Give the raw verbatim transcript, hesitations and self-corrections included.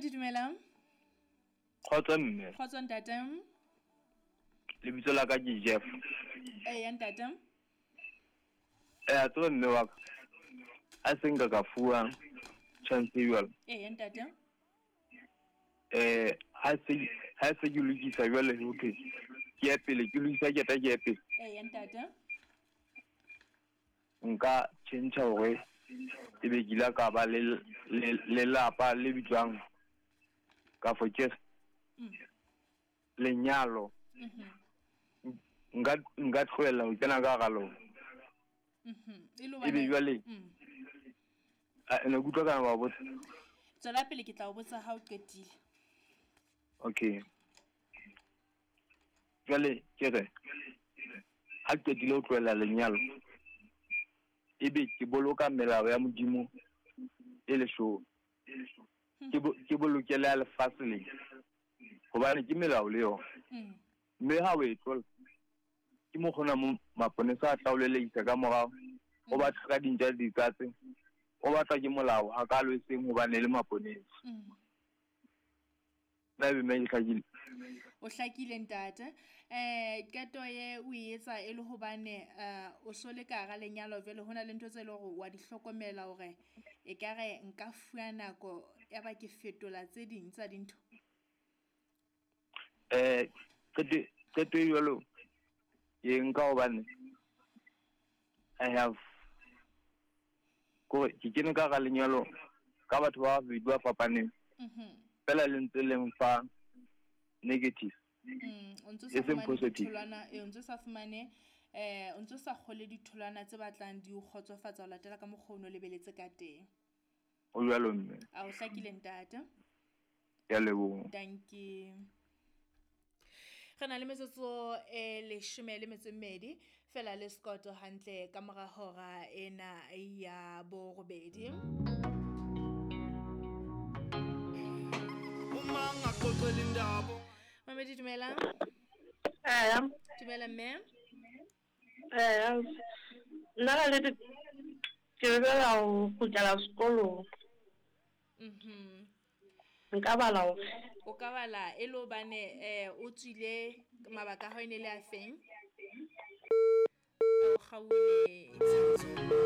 Mamedi, dumelang. Kgotso mme. Kgotso ntate. Lebitso la ka ke Jeff. Eya ntate. Eh, a tseba mme wa ka. A se nka ka fuwa chance e jwalo. Eya ntate. Eh, ha se ha se ke lokisa jwale ho thwe ke ya pele, ke lokisa keta ke ya pele. Eya ntate. Nka tjhentjha hore ebe ke ile ka ba le lelapa le bitswang ka fo ke lenyalo. Nka nka tlohella ho kena ka hara lona. Ebe jwale ne ke utlwa kana wa botsa. Tswela pele, ke tla o botsa ha o qetile. Okay. Jwale ke re ha ke qetile ho tlohella lenyalo, ebe ke boloka melao ya Modimo e leshome. Ke ke bolokele ya lefatshe le, hobane ke melao le yona. Mme ha o e tlola, ke mo kgona mo maponesa a tla o leleisa ka morao, o batla ka dintja le dikatse, o batla ke molao ha ka lo seng hobane le maponesa. Na ebe mme ke hlakile? O hlakile ntate. Eh qeto ye o e etsa e le hobane o so le ka hara lenyalo jwale hona le ntho tse leng hore wa di hlokomela hore ekare nka fuwa nako ya ba ke fetola tse ding tsa dintho. Eh qeto qeto e jwalo ke nka hobane I have ko ke kene ka hara lenyalo ka batho ba babedi ba fapaneng. Fela le ntse le mfa negative. Mm, o ntso sa fumane ditholwana, eh o ntso sa fumane eh o ntso sa kgole ditholwana tse batlang di o kgotsofatsa ho latela ka mokgwa o no lebeletse ka teng. O jwalo mme. A o hlakile ntate? Ke a leboha. Thank you. Re na le metsotso e leshome le metso e mmedi fela le Scott hantle ka mora hora ena ya borobedi. Mamedi, dumela. Eh. Dumela mme. Eh. Nna ka le ke lebela ho kgutlela sekolong. Mhm. Nka bala hore o ka bala e le hobane eh o tswile mabaka a hao e ne le a feng? O kgaohile.